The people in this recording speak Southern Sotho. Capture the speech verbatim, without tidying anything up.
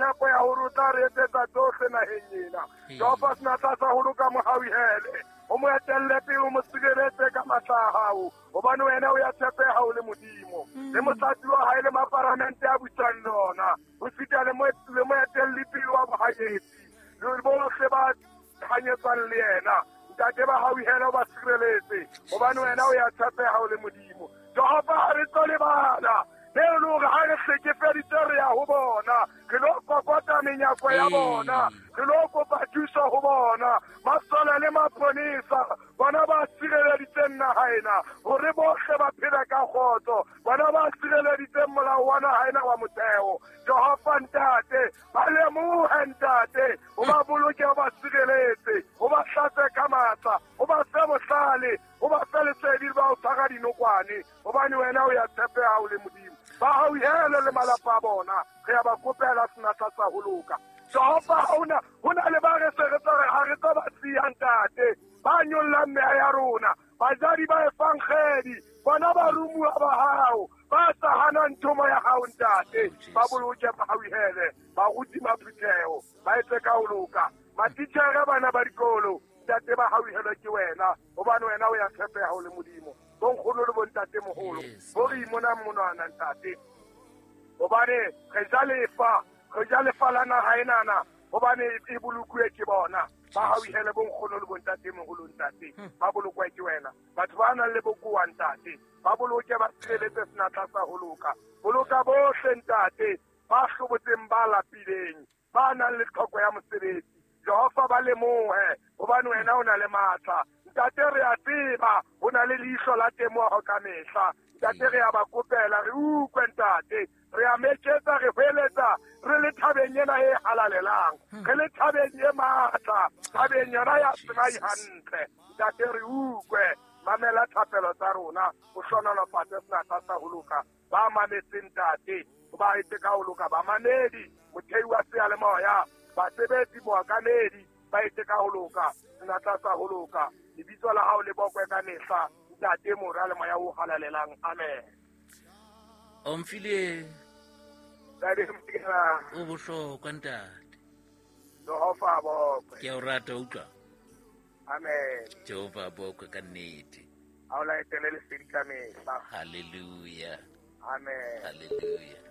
tshepo ya hore o tla re etsetsa tsohle naheng ena. Jehova senatla sa ho loka mo hauhele, o mo etelle pele, o mo sireletse ka matla a hao, hobane wena o ya tshepeha o le Modimo. Le motlatsi wa hae le maparamente a busang le ona, ho sita le moetelli pele wa bohanyetsi le bohle ba hanyetsang le yena. Ntate ba hauhele, o ba sireletse, hobane wena o ya tshepeha o le Modimo. Jehova ha re tlo lebala le le hore ha re hlekefeditse re ya ho bona, re lo kokota menyako ya bona, re lo kopa thuso ho bona. Masole le maponesa bona ba sireleditseng naha ena hore bohle ba phele ka kgotso, bona ba sireleditseng molao wa naha ena wa motheo. Jehova ntate, ba lemohe ntate, o ba boloke, o ba sireletse, o ba hlatse ka matla, o ba fe bohlale, o ba fe lesedi ba o tshwara dinokwane, hobane wena o ya tshepeha o le Modimo. Ba hauhele le malapa a bona, re ya ba kopela senatla sa ho loka. Jehova ha hona ho na le ba re se re tla re ha re tla ba siya ntate, ba nyollang meya ya rona, bajadi ba efankgedi, bona ba rumuwa ba hao, ba sa hanang thomo ya hao ntate. Ba boloke, ba hauhele, baruti ba phutheho ba etse ka ho loka, matitjhere bana ba dikolo ntate ba hauhelwe ke wena, hobane wena o ya tshepeha o le Modimo. Bonkgono le bontatemoholo bo re imonang monwana ntate, hobane re ja lefa, re ja lefa la naha enana, hobane e bolokuwe ke bona. Ba hauhele bonkgono le bontatemoholo ntate, ba bolokwe ke wena. Batho ba nang le bokowa ntate, ba boloke, ba sireletse senatla sa ho loka. Boloka bohle ntate ba hlobotseng, ba lapileng, ba nang le tlhoko ya mosebetsi. Jehova ba lemohe, hobane wena o na le matla. Ntate re a tseba ho na le leihlo la temoho ka mehla. Ntate re a ba kopela, re utlwe ntate, re a meketsa, re hweletsa, re le thabeng ena e halalelang, re le thabeng e matla, thabeng yona ya Sinai hantle. Ntate re utlwe, mamela thapelo tsa rona, o hlohonolofatse senatla sa ho loka. Ba mametseng ntate, ba etse ka ho loka, bamamedi, mothei wa seyalemoya, basebetsi, mookamedi, ba etse ka ho loka, senatla sa ho loka. Lebitso la hao le bokwe ka mehla, Ntate, Mora le Moya o halalelang. Amen. Omphile o bohlokwa ntate. Jehova a bokwe. Ke a o rata, utlwa. Amen. Jehova a bokwe ka nnete. A o laetele lesedi ka mehla. Hallelujah. Amen. Hallelujah.